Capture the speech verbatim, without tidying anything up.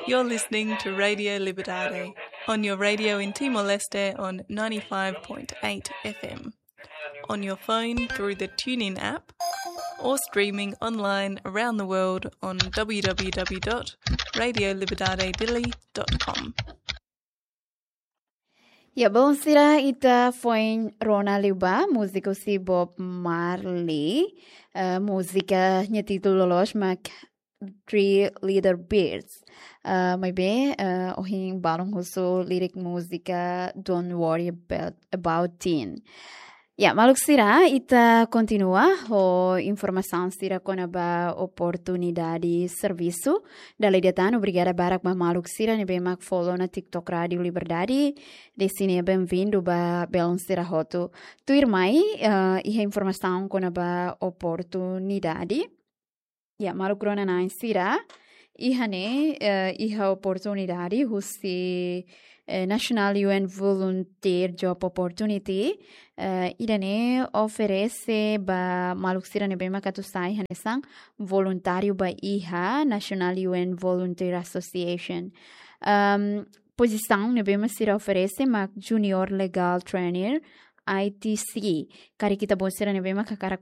You're listening to Radio Liberdade on your radio in Timor-Leste on ninety-five point eight F M, on your phone through the TuneIn app, or streaming online around the world on w w w dot radio liberdade dili dot com. Ya, bom, sira, ita foin rona liu ba múzika husi Bob Marley. Eh, múzika nia títulu loloos mak Three Little Birds. Eh, maibé, eh, ohin balun husu lirik múzika Don't Worry About, About Teen. Ya, maluk sira, ita kontinua ho informasaun sira kona-ba oportunidade servisu. Dala ida tan, obrigada barak ba maluk sira ne'ebé mak follow ona TikTok Rádio Liberdade. Desde ne'e bem-vindo ba belun sira hotu. Tuirmai, eh, iha informasaun kona-ba oportunidade. Ya, maluk rona-na'in sira, iha ne'e, eh, iha oportunidade husi, eh, National U N Volunteer Job Opportunity, eh, ida-ne'e oferese ba maluk sira ne'ebé mak atu sai hanesan voluntáriu ba iha National U N Volunteer Association. Ahm, pozisaun ne'ebé mak sira oferese mak Junior Legal Trainer, I T C. Karik ita-boot sira ne'ebé mak hakarak